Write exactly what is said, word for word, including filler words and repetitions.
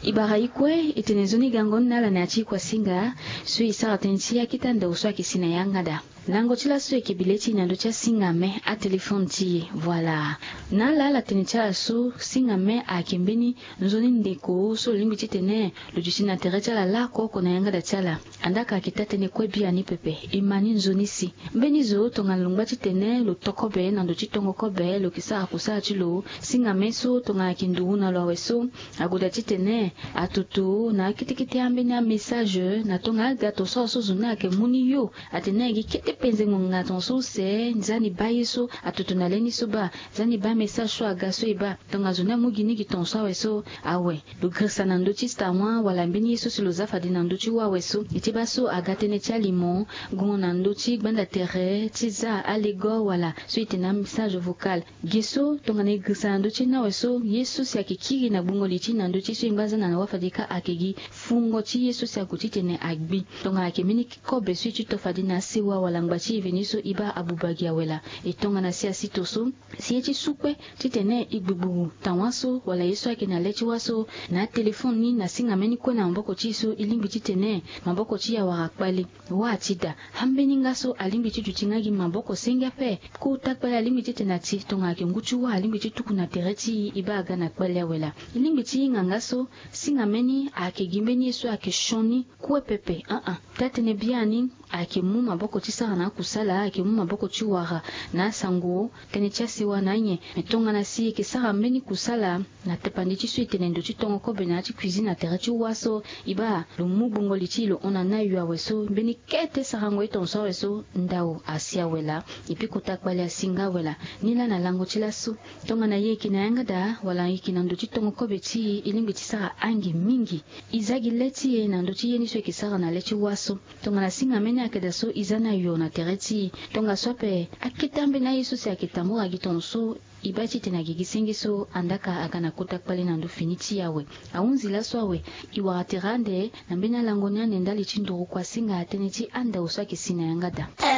E bara e kue e tene nzoni gango ni na ala na ya ti e kuasinga so e sara tënë ti akete andau so ayeke si na yanga daa. Lango ti laso e yeke bi le ti e na ndö ti asinga me atelefone ti e. Voilà. Na ala ala tene ti ala so singa me ayeke mbeni nzoni ndeko so lo lingbi titene lo duti na tere ti ala lako oko na yanga daa ti ala. Andaa ka ayeke taa-tënë kue biani pepe. E ma ni nzoni si mbeni zo tongana lo ngba titene lo to kobe na ndo ti tongo kobe lo yeke sara kusala ti lo. Singa me so tongana ayeke nduru na lo awe so, ague daa titene atutu na akete kete ambeni amessage na tongana aga ton so awe so zo ni ayeke mu ni yo. Atene na gi kete penze ngonga ton so use nzani baa ye so atutu na le ni so baa, nzani baa message so aga so e baa. Tongana zo ni amu gi ni gi ton so awe so, awe lo girisa na ndö ti tawa wala mbeni ye so si lo za fade na ndö ti wawe so. E ti baa so aga tënë ti alimo gongo na ndö ti gbanda tere ti za alego wala so e tene amessage vocal. Ge so tongana e girisa na ndö ti ni awe so, ye so si ayeke kiri na gbungo li ti e na ndö ti so e ngba za na na wa fade ka ayeke gi fungo ti ye so si ague titene agbi. Tongana ayeke mbeni kobe so e ti to fade na asewa wala ngba ti e veni so e baa abuba gi awe laa. E tongana si asito so si ye ti su kue titene e gbugburu tawa so wala ye so ayeke na le ti wa so, na atelefone ni na singa me ni kue na maboko ti e so e lingbi titene maboko ti e awara kpale. Wa ti daa, ambeni nga so alingbi ti duti nga gi maboko senge ape. Kota kpale alingbi titene ati tongana ayeke ngu ti wa alingbi ti tuku na tere ti e, e baa aga na kpale awe laa. E lingbi ti hinga nga so singa me ni ayeke gi mbeni ye so ayeke sioni kue pepe. Aa, taa-tënë biani ayeke mu maboko ti sara na akusala, ayeke mu maboko ti wara na asango, tënë ti asewa na anyen. Me tongana si e yeke sara mbeni kusala na tapandi ti so e tene ndo ti tongo kobe na ya ti cuisine na tere ti wa so, e baa lo mu gbungo li ti e lo hon na ni ayo awe so, mbeni kete sarango ye ton so awe so, ndau asi awe laa. Epui kota kpale asi nga awe laa. Ni laa na lango ti laso, tongana e yeke na yanga daa wala e yeke na ndo ti tongo kobe ti e, e lingbi ti sara ange mingi. E za gi le ti e na ndö ti ye ni so e yeke sara na le ti wa so. Tongana singa me ni ayeke daa so, e za ni ayo na tere ti e. Tongaso ape akete ambeni aye so si ayeke tambura gi ton so, e baa titene agigi senge so, andaa ka aga na kota kpale na ndö fini ti e awe. Ahunzi laso awe, e wara tere ande na mbeni alango ni ande ndali ti nduru kuasinga tënë ti andau so ayeke si na yanga daa.